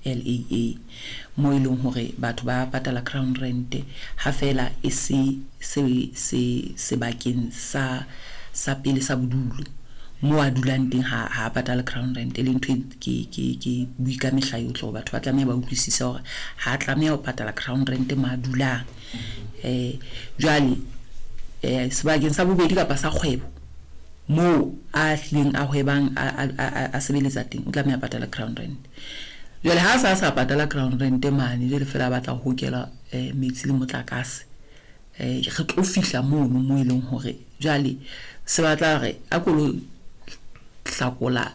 LAA moo e leng hore batho ba patala ground rent ha feela e se se se sebakeng sa sa pele sa bodulo moo a dulang teng ha ha patale ground rent e leng ntho e ke ke ke bui ka mehla yohle hore batho ba tlameha ba utlwisise hore ha a tlameha ho patala ground rent mo a dulang. Jwale sebakeng sa bobedi kapa sa kgwebo moo a hlileng a hwebang a sebeletsa teng o tlameha a patale ground rent. Jwale ha a sa sa patala ground rent mane jwale fela a batla ho hokela metsi le motlakase re tlo fihla mono mo e leng hore jwale se batla re a ko lo hlakola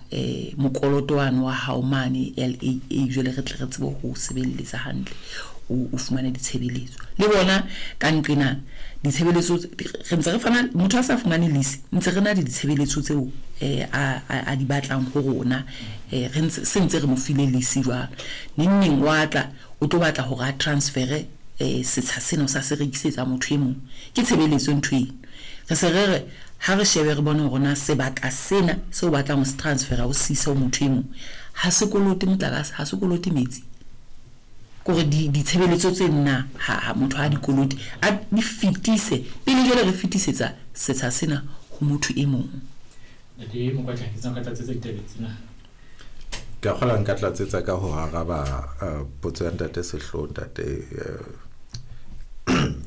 mokoloto wane wa hao mane LAA jwale re tle re tsebe ho sebeletsa hantle o fumane ditshebeletso. Le bona ka nqena ditshebeletso re ntse re fana motho a sa fumane lease ntse re na le ditshebeletso tseo a di batlang ho rona re ntse se ntse re mo file lease jwalo. Neng neng wa tla o tlo batla hore a transfere setsha sena o sa se rekisetsa motho e mong. Ke tshebeletso ntho eno. Re se re re ha re shebe re bone hore na sebaka sena seo o batlang ho se transfera o se ise ho motho e mong ha se kolote motlakase, ha se kolote metsi. Kore ditshebeletso tse nna ha motho ha di kolote a di fetise pele jwale re fetisetsa setsha sena ho motho e mong. Ntate Mokwatla, ke tsena ka tlatsetsa ditabeng tsena. Ke a kgolwa nka tlatsetsa ka ho araba potso ya ntate Sehloho ntate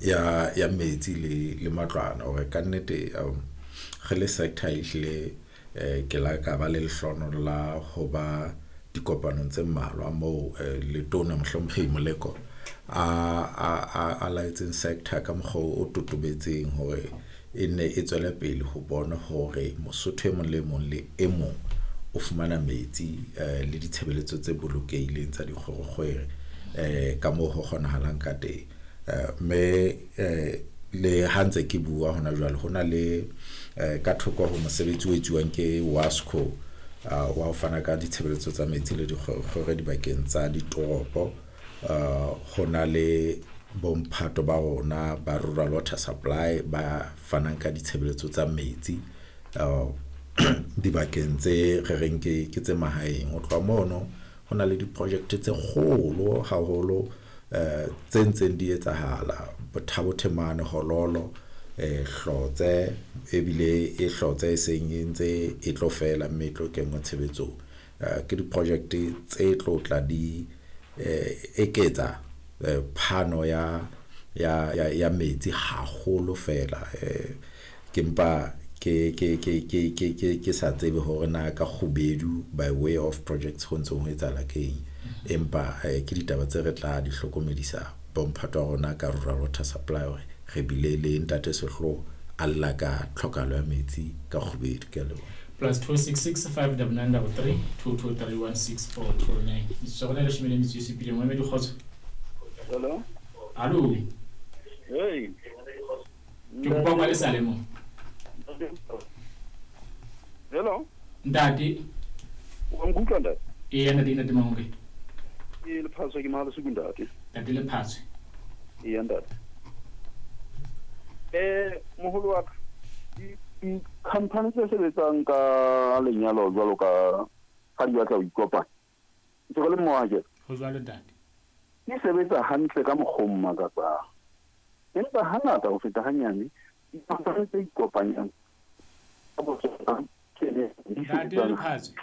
ya ya metsi le le matlwana hore ka nnete re le sector ehlile ke la ka ba le lehlohonolo la ho ba dikopanong tse mmalwa moo letona mohlomphehi Moleko a laetseng sector ka mokgwa o totobetseng hore e nne e tswele pele ho bona hore Mosotho e mong le mong le e mong o fumana metsi le ditshebeletso tse bolokehileng tsa dikgwerekgwere ka moo ho kgonahalang ka teng. Mme le ha ntse ke bua hona jwale ho na le ka thoko ho mosebetsi o etsuwang ke WASCO wa ho fana ka ditshebeletso tsa metsi le dikgwerekgwere dibakeng tsa ditoropo. Ho na le bomphato ba rona ba Rural Water Supply ba fanang ka ditshebeletso tsa metsi dibakeng tse re reng ke tse mahaeng. Ho tloha mono ho na le diprojekte tse kgolo haholo tse ntseng di etsahala Bothabo Themane, Hololo, Hlotse ebile e Hlotse e seng e ntse e tlo fela mme e tlo kenngwa tshebetsong. Ke diprojekte tse tlo tla di eketsa phano ya ya ya ya metsi haholo fela. Ke mpa ke ke ke ke ke ke ke sa tsebe hore na ka kgubedu by way of projects ho ntse ho etsahala ke eng, empa ke ditaba tse re tla di hlokomedisa bomphato wa rona ka Rural Water Supply hore re bile le ntate Sehloho a lla ka tlhokahalo ya metsi ka kgubedu. Ke a leboha. +266 599 33 223 16429. Metsotso ya rona e leshome le metso e supileng. Moemedi kgotso. Hello. Hallo. Hey. Ke kopa o kwale seyalemoya. Hello. Ntate. Wa nkutlwa ntate? Eya ntate, ntate Mangoke. Ke Lephatswe ke Mahalesiku ntate. Ntate Lephatswe. Eya ntate. Moholo wa ka di-company tse sebetsang ka lenyalo jwalo ka ha di batla ho ikopanya. Ntse re le mmoho akere? Ho jwalo ntate. Di sebetsa hantle ka mokgwa o makatsang. Empa hangata ho feta hanyane di-company tse ikopanyang ka botsona di Ntate sebetsang. Lephatswe.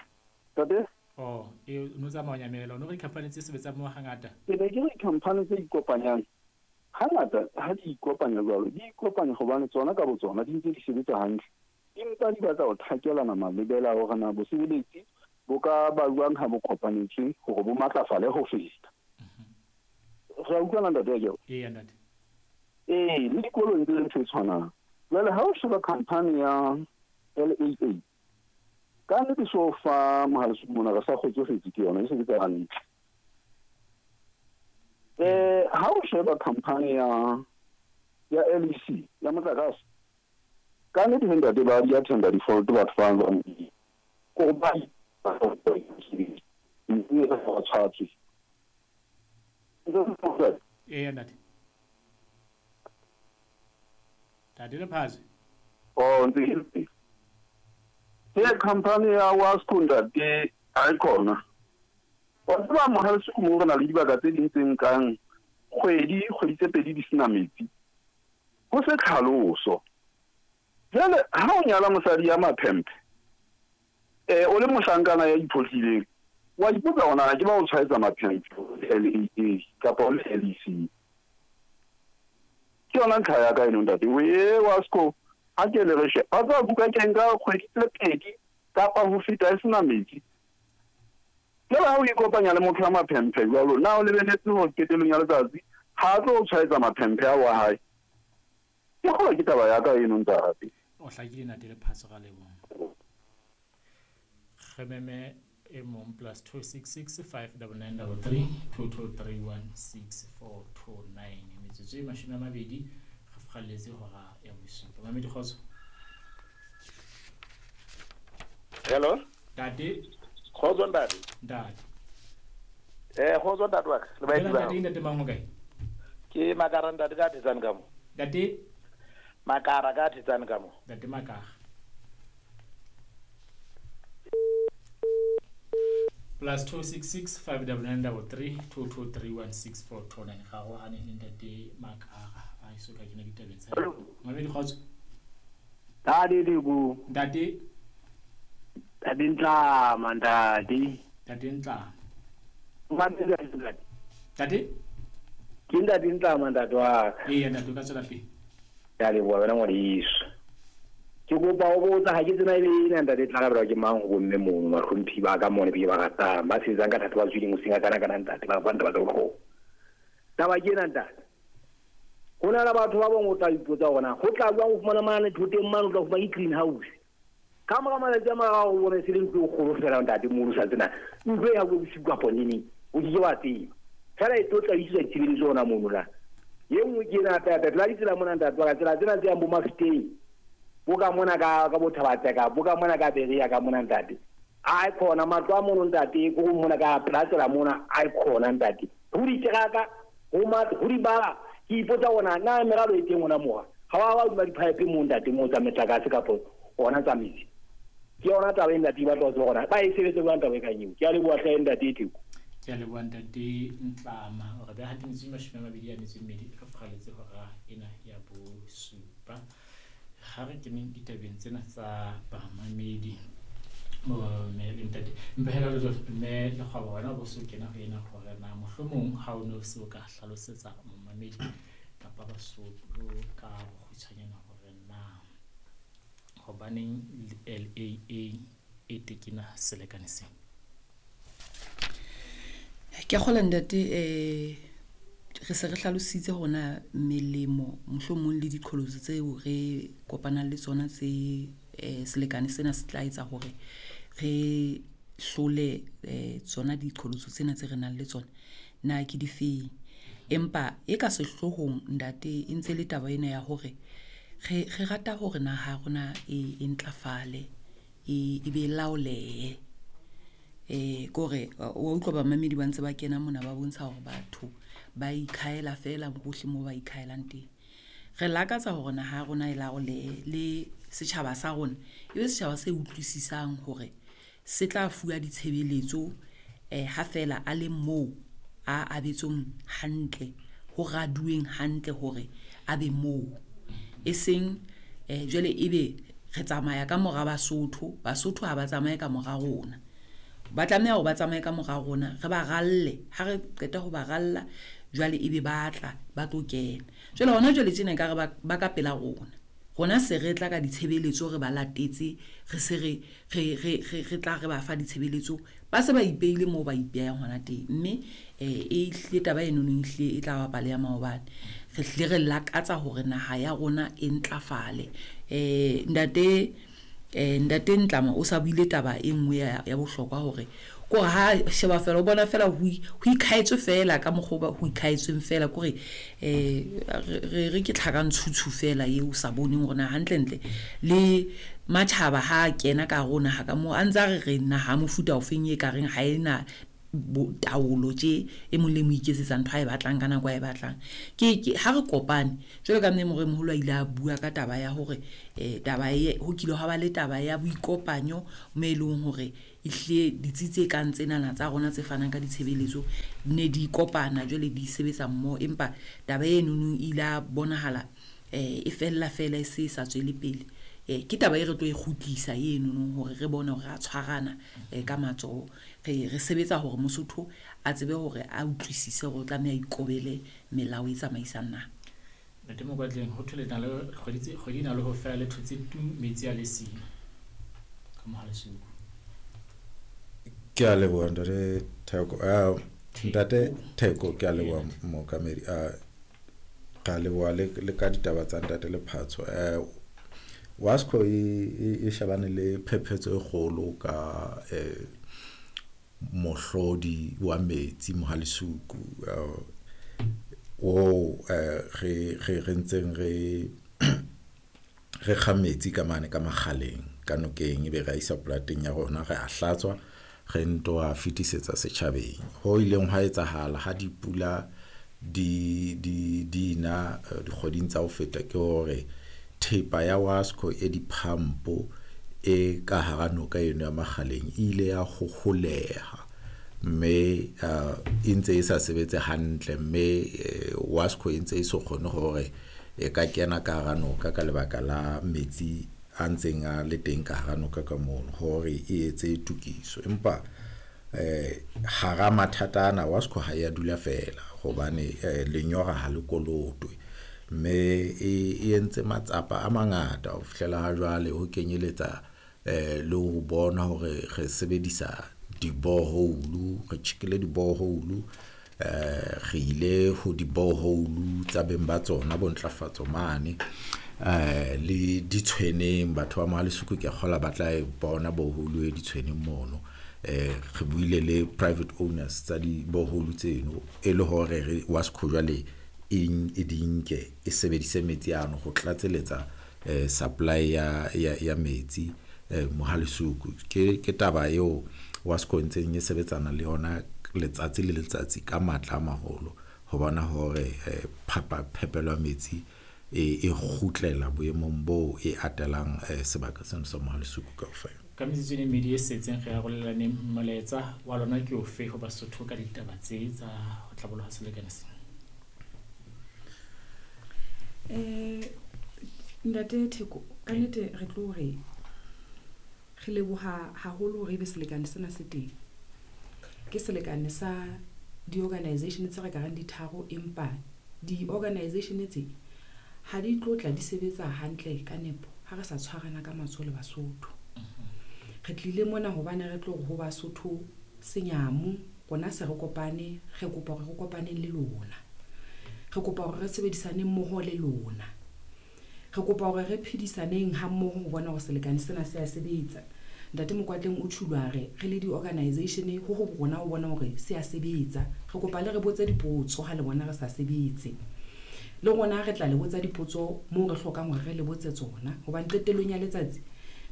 Ntate? Oh, e o no tsamaya o nyamela. O no re di-company tse sebetsang moo hangata? Ke ne ke re di-company tse ikopanyang hangata ha di ikopanya jwalo, di ikopanya hobane tsona ka botsona di ntse di sebetsa hantle. Empa di batla ho thakelana malebela hore na bosebeletsi bo ka ba jwang ha bo kopanetswe hore bo matlafale ho feta. Re a utlwana ntate akere? Eya ntate. Ee, le dikolong tse ntho e tshwanang. Jwale ha o sheba company ya LAA, ka nnete so fa Mohalesuku mona re sa kgotsofetse ke yona, e sebetsa hantle. Ha o sheba company ya ya LEC ya motlakase, ka nnete he ntate ba di attenda default batho ba jwang ko ba mme re ba tshwatswe. Eya ntate. Ntate Lephatswe. Oh, ntse ke le. Ke company ya WASCO ntate ha e khona. Wa tseba mohaeso mo re na le dibaka tse ding tse nkang kgwedi, kgwedi tse pedi di sena metsi. Ho se tlhaloso. Jwale ha o nyala mosadi ya maphemphe, o le mohlankana ya iphohlileng, wa ipotsa hore na ke ba o tshwaetsa maphemphe LAA kapa o le LEC. Ke yona ntlha ya ka eno ntate. We wa sko ha ke le re she. Wa tseba buka ke nka kgwedi tse pedi kapa ho feta e sena metsi. Jwale ha o ikopanya le motho ya maphemphe jwalo, na o lebeletse hore qetellong ya letsatsi ha a tlo o tshwaetsa maphemphe ao a hae? Ke kgolwa ke taba ya ka eno ntate. O hlakile ntate Lephatso ra leboha. Re meme e mong +266 599 33 223 16429. Metsotso e 20 re furalletse hora ya bosupa. Mamedi kgotso. Hello. Ntate. Kgotso ntate. Ntate. Kgotso ntate wa ka. Le baeti ba. Ntate ntate mang o kae? Ke Makara ntate ka Thetsane ka mo. Ntate Makara ka Thetsane ka mo. Ntate Makara. +266 599 3 223 16429. Ga go hane le ntate Makara a iso ka kena ditabeng tsa. Mamedi kgotso. Ntate Dibu. Ntate. Ntate Ntlama ntate. Ntate Ntlama. Ntate. Ntate? Ke ntate Ntlama ntate wa ka. Ee ntate o ka tswela pele. Ke a leboha wena ngwaneso. Ke kopa ho botsa ha ke tsena ebe ena ntate tla rabelwa ke mang ho bomme mono bahlomphi ba ka mone be ba ratang ba sebetsang ka thata ba tswileng hoseng ka kana kana ntate ba bua taba tsa bohlokwa. Taba ke ena ntate. Ho na le batho ba bang o tla ipotsa hore na ho tla jwang ho fumana mane thoteng mane o tla fumana ke greenhouse. Ka mora matsatsi a mararo o bone se le ntlo e kgolo fela ntate mono sa tsena ntlo e ya bosiu kapa neneng o ke ke wa tseba. Fela e tlo tla iswa ditshebeletso hona mono la. Ye nngwe ke ena hape hape la ditsela mona ntate wa ka tsela tsena tse yang bo Mafeteng. Bo ka mona ka Bothabatseka, bo ka mona ka Berea ka mona ntate. A e khona matlo a mono ntate ko mona ka pela tsela mona a e khona ntate. Ho diteraka, ho matlo, ho dibala, ke ipotsa hore na meralo e teng hona moha. Ha wa ba di-pipe mo ntate mo tsa metlakase kapa hona tsa metsi. Ke yona taba e ntate ba tlo tseba hore ba e sebetse jwang taba e kang eo. Ke a leboha hle ntate e Theko. Ke a leboha ntate Ntlama. Hore beha metso 22 re furalletse hora ena ya bosupa. Ha re keneng ditabeng tsena tsa bamamedi mme le ntate mpehela le mme Lekgwaba wena bo so kena ho ena hore na mohlomong ha o no se o ka hlalosetsa momamedi kapa Basotho ka bokgutshwanyane hore na hobaneng LAA e tekena selekane sena. Ke a kgolwa ntate re se re hlalositse hona melemo mohlomong le diqholotso tseo re kopanang le tsona tse selekane sena se tla etsa hore re hlole tsona diqholotso tsena tse re nang le tsona na ke difeng. Empa e ka sehloohong ntate e ntse le taba ena ya hore re rata hore naha ya rona e ntlafale e be laolehe. Kore wa utlwa bamamedi ba ntse ba kena mona ba bontsha hore batho ba ikhaela fela hohle moo ba ikhaelang teng. Re lakatsa hore naha ya rona e laolehe le setjhaba sa rona e be setjhaba se utlwisisang hore se tla fuwa ditshebeletso ha fela a le moo a abetsweng hantle, ho raduweng hantle hore a be moo. E seng jwale ebe re tsamaya ka mora Basotho, Basotho ha ba tsamaye ka mora rona. Ba tlameha hore ba tsamaye ka mora rona, re ba ralle. Ha re qeta ho ba ralla jwale ebe ba tla ba tlo kena. Jwale hona jwale tjena ekare ba ka pela rona. Rona se re tla ka ditshebeletso re ba latetse, re se re tla re ba fa ditshebeletso, ba se ba ipeile moo ba ipehang hona teng. Mme e hlile taba eno e hlile e tla ba pale ya maobane. Re hlile re lakatsa hore naha ya rona e ntlafale. Ntate ntate Ntlama o sa buile taba e nngwe ya bohlokwa hore kore ha sheba fela o bona fela ho ikhaetswe fela ka mokgwa ho ikhaetsweng fela kore re ke tlhakantshutshu fela eo sa boneng hore na hantlentle le matjhaba ha kena ka rona ha ka mo a ntse a re re naha mofuta ofeng e ka reng ha ena taolo tje e mong le mo iketsetsa ntho a e batlang ka nako a e batlang. Ke ha re kopane jwalo ka mme moremoholo a ile a bua ka taba ya hore taba e ho kile ha ba le taba ya boikopanyo mo e leng hore Ehlile ditsi tse kang tsenana tsa rona tse fanang ka ditshebeletso ne di kopana jwale di sebetsa mmoho, empa taba enono e ile ya bonahala e fella fela e se sa tswele pele. Ke taba e re tlo e kgutlisa enono hore re bone hore ra tshwarana ka matsoho. Re sebetsa hore Mosotho a tsebe hore a utlwisise hore o tlameha a ikobele melao e tsamaisang naha. Ntate Mokwatleng, ho thwe le na le kgwedi e na le ho fela le thotse tu metsi a le siyo ka Mohalesuku. Ke a leboha ntate Theko. Ntate Theko, ke a leboha mookamedi. Ka leboha le ka ditaba tsa ntate Lephatso. WASCO e shebane le phephetso e kgolo ka mohlodi wa metsi Mohalesuku o re ntseng re kga metsi ka mane ka makgaleng ka nokeng, ebe re a isa polateng ya rona, re a hlatswa, re nto a fetisetsa setjhabeng. Ho ileng hwa etsahala ha dipula di na dikgweding tsa ho feta ke hore thepa ya WASCO e di-pump e ka hara noka eno ya Makgaleng e ile ya hoholeha, mme e ntse e sa sebetse hantle, mme WASCO e ntse e so kgone hore e ka kena ka hara noka ka lebaka la metsi a ntseng a le teng ka hara noka ka mono hore e etse tokiso. Empa hara mathata ana WASCO ha ya dula fela hobane lenyora ha le kolotwe, mme e entse matsapa a mangata ho fihlela ha jwale, ho kenyeletsa le ho bona hore re sebedisa di-borehole, re tjhekile di-borehole, re ile ho di-borehole tsa beng ba tsona bo ntlafatso mane, le ditshweneng. Batho ba Mohalesuku ke a kgolwa ba tla e bona borehole e ditshweneng mono. Re buile le private owners tsa di-borehole tseno e le hore re WASCO jwale e di nke e sebedise metsi ano ho tlatseletsa supply ya metsi Mohalesuku. Ke taba eo WASCO e ntseng e sebetsana le yona letsatsi le letsatsi ka matla a maholo ho bona hore phepelo ya metsi e kgutlela boemong bo e atelang sebaka sena sa Mohalesuku kaofela. Ka metsotso e mmedi e setseng re arolelaneng molaetsa wa lona ke ofe ho Basotho ka ditaba tse tsa ho tlaboloha selekane sena? Ntate Theko, ka nnete re tlo re re leboha haholo hore ebe selekane sena se teng. Ke selekane sa di-organization tse re ka reng di tharo, empa di-organization tse ha di tlo tla di sebetsa hantle ka nepo ha re sa tshwarana ka matsoho le Basotho. Re tlile mona hobane re tlo re ho Basotho senyamo, rona se re kopane, re kopa hore re kopaneng le lona. Re kopa hore re sebedisaneng mmoho le lona. Re kopa hore re phedisaneng ha mmoho ho bona hore selekane sena se a sebetsa. Ntate Mokwatleng o tjhulo a re re le di-organization ho ho rona ho bona hore se a sebetsa. Re kopa le re botse dipotso ha le bona re sa sebetse. Le rona re tla le botsa dipotso moo re hlokang hore re le botse tsona, hobane qetellong ya letsatsi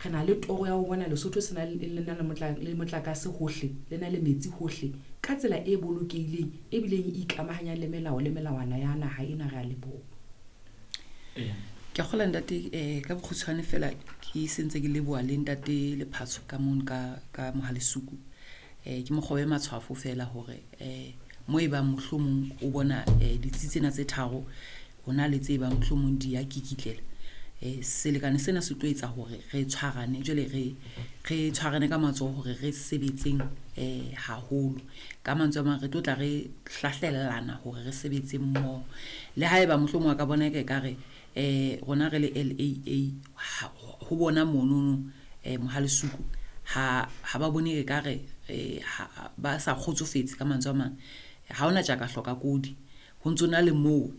re na le toro ya ho bona Lesotho se na le na le motlakase hohle, le na le metsi hohle ka tsela e bolokehileng ebileng e ikamahanyang le melao le melawana ya naha ena. Re a leboha. Ke a kgolwa ntate, ka bokgutshwane fela ke sentse ke leboha le ntate Lephatso ka mono ka Mohalesuku. Ke mokgobe matshwafo fela hore mo e bang mohlomong o bona ditsi tsena tse tharo hona le tse bang mohlomong di ya kikitlela. Selekane sena se tlo etsa hore re tshwarane jwale re tshwarane ka matsoho hore re sebetseng haholo. Ka mantswe a mang re tlo tla re hlahlellana hore re sebetse mmoho. Le haeba mohlomong a ka bona e ka re rona re le LAA ho bona monono Mohalesuku ha ba bone e ka re ba sa kgotsofetse ka mantswe a mang, ha hona tjaka hloka kodi. Ho ntso na le moo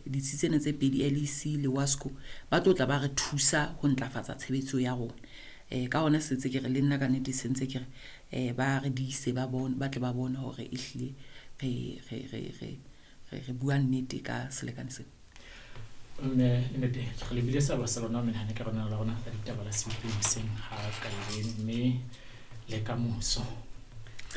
ditsi tsena tse pedi LEC le WASCO ba tlo tla ba re thusa ho ntlafatsa tshebetso ya rona. Ka hona se ntse ke re le nna ka nnete se ntse ke re ba re diise ba bone, ba tle ba bone hore ehlile re bua nnete ka selekane sena. Mme nnete re lebile seabo sa lona menahane ka rona la rona la ditaba la sebopeng hoseng ha kajeno, mme le ka moso.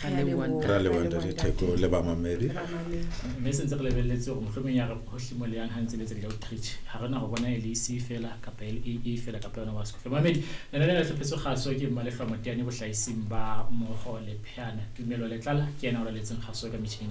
Ra leboha, ntate. Ra leboha ntate Theko le bamamedi. Le bamamedi. Mme se ntse re lebelletse hore mohlomong ya re hohle mo le yang ha ntse le etsa di-outreach, ha re na ho bona LEC fela kapa LAA fela kapa yona WASCO fela. Mamedi, lenaneo le hlophetswe kgaso ke Mmalehloa Moteane bohlahising ba Moho le Pheana. Tumelo Letlala ke yena o laletseng kgaso ka metjhining ya.